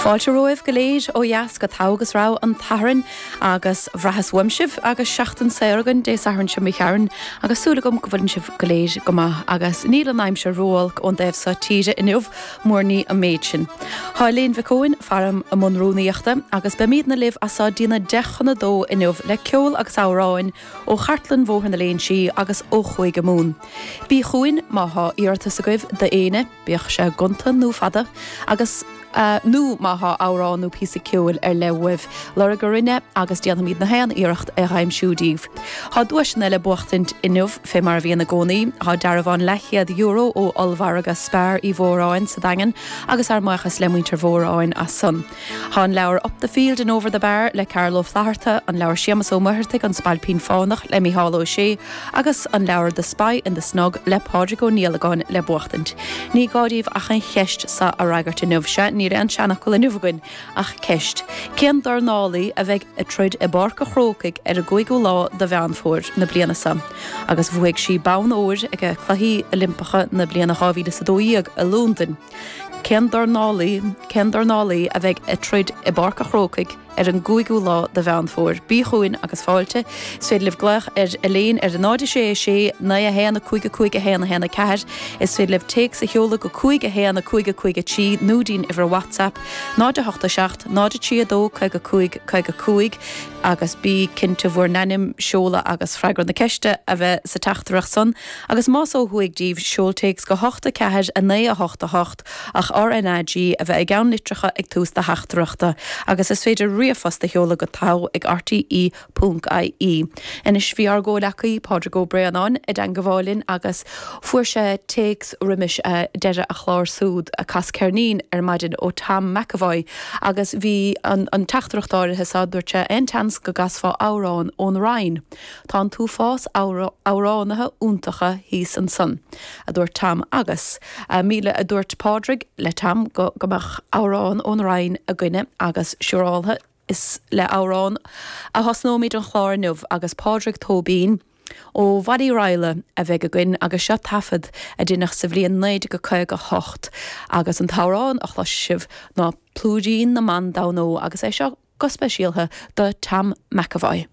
Fáilte romhaibh go léir ó dheas go Togha agus Rogha an tSathairn agus bhraitheas uaim sibh agus seachtain saor againn Dé Sathairn seo imigh tharainn agus súil agam go bhfuileann sibh go léir go maith agus níl an aimsir ró-olc ón dtaobh seo tíre inniu, muar ní an méid sin. Tá Elaine Mhic Eoin faram i mbun rúnaíochta agus beimídne libh as seo dtína 1:50 inniu le ceol agus amhráin ó Chartlann Bhóthar na Léinsí agus ó Chúige Mumhan. Bí chugainn má thá iarratas agaibh d'éinne, bíodh sé gonta nó fada, agus nó má thá amhrán nó píosa ceoil ar leith uaibh, lorg orainn é agus déanfaimíd na haon iarracht é dh'aimsiú díbh. Thá duaiseanna le buachtaint inniu, fé mar a bhíonn i gcónaí. Thá dearbhán leathchéad euro ó ollmhargadh Spar Uí Mhóráin sa Daingean agus ár mbuíochas le muintir Mhóráin as san. Thá an leabhar Up the Field and Over the Bar le Carl Ó Flaithearta, an leabhar Séamus Ó Muircheartaigh An Spailpín Fánach le Mícheál Ó Sé agus an leabhar The Spy in the Snug le Pádraig Ó Niallagáin le buachtaint. Ní gá díbh ach an cheist so a fhreagairt inniu. Sea, níl aon seanfhocal inniu againn ach ceist. Cén dornálaí a bheidh ag troid i bPáirc a' Chrócaigh ar an gcúigiú lá de Mheán Fómhair na bliana so agus bhuaigh sí bonn óir ag Cluichí Oilimpeacha na bliana 2012 i Londain? Cén dornálaí, cén dornálaí a bheidh ag troid i bPáirc a' Chrócaigh ar an gcúigiú lá de Mheán Fómhair? Bí chugainn agus fáilte. Is féidir libh glaoch ar Elaine ar 0 6 6 9 1 5 5 1 1 4. Is féidir libh téacs a sheoladh go 5 1 5 5 3 nó dtí'n uimhir WhatsApp 0 8 7 0 3 2 55 55 agus bí cinnte bhur n-ainm, seoladh agus freagra na ceiste a bheith sa teachtaireacht san. Agus más ó thuaidh díbh, seol téacs go 8 4 9 8 8 ach RnaG a bheith i gceann litreacha ag tús do theachtaireachta. Agus is féidir ríomhphost a sheoladh go togha ag rte ponc ie. Anois bhí ár gcomhleacaí, Pádraig Ó Braonáin, i dteangabháil linn agus fuair sé téacs roimis deireadh a chláir súd, Cas Ceirnín, ar maidin ó Tom McEvoy agus bhí an teachtaireacht áirithe so, dúirt sé, aon tseans go gcasfá amhrán ón Rinn? Tá an t-uafás amhránaithe iontacha thíos ansan, a dúirt Tom agus, míle, a dúirt Pádraig le Tom go mbeadh amhrán ón Rinn againne agus siúráltha is le amhrán a thosnóimid an chlár inniu agus Pádraig Tóibín ó Bhaile Uí Raghallaigh a bheidh againn agus seo taifead a deineadh sa bhliain 1958 agus an t-amhrán a chloisfidh sibh ná Plúirín na mBan Damhnó agus é seo go speisialtha do Tom McEvoy.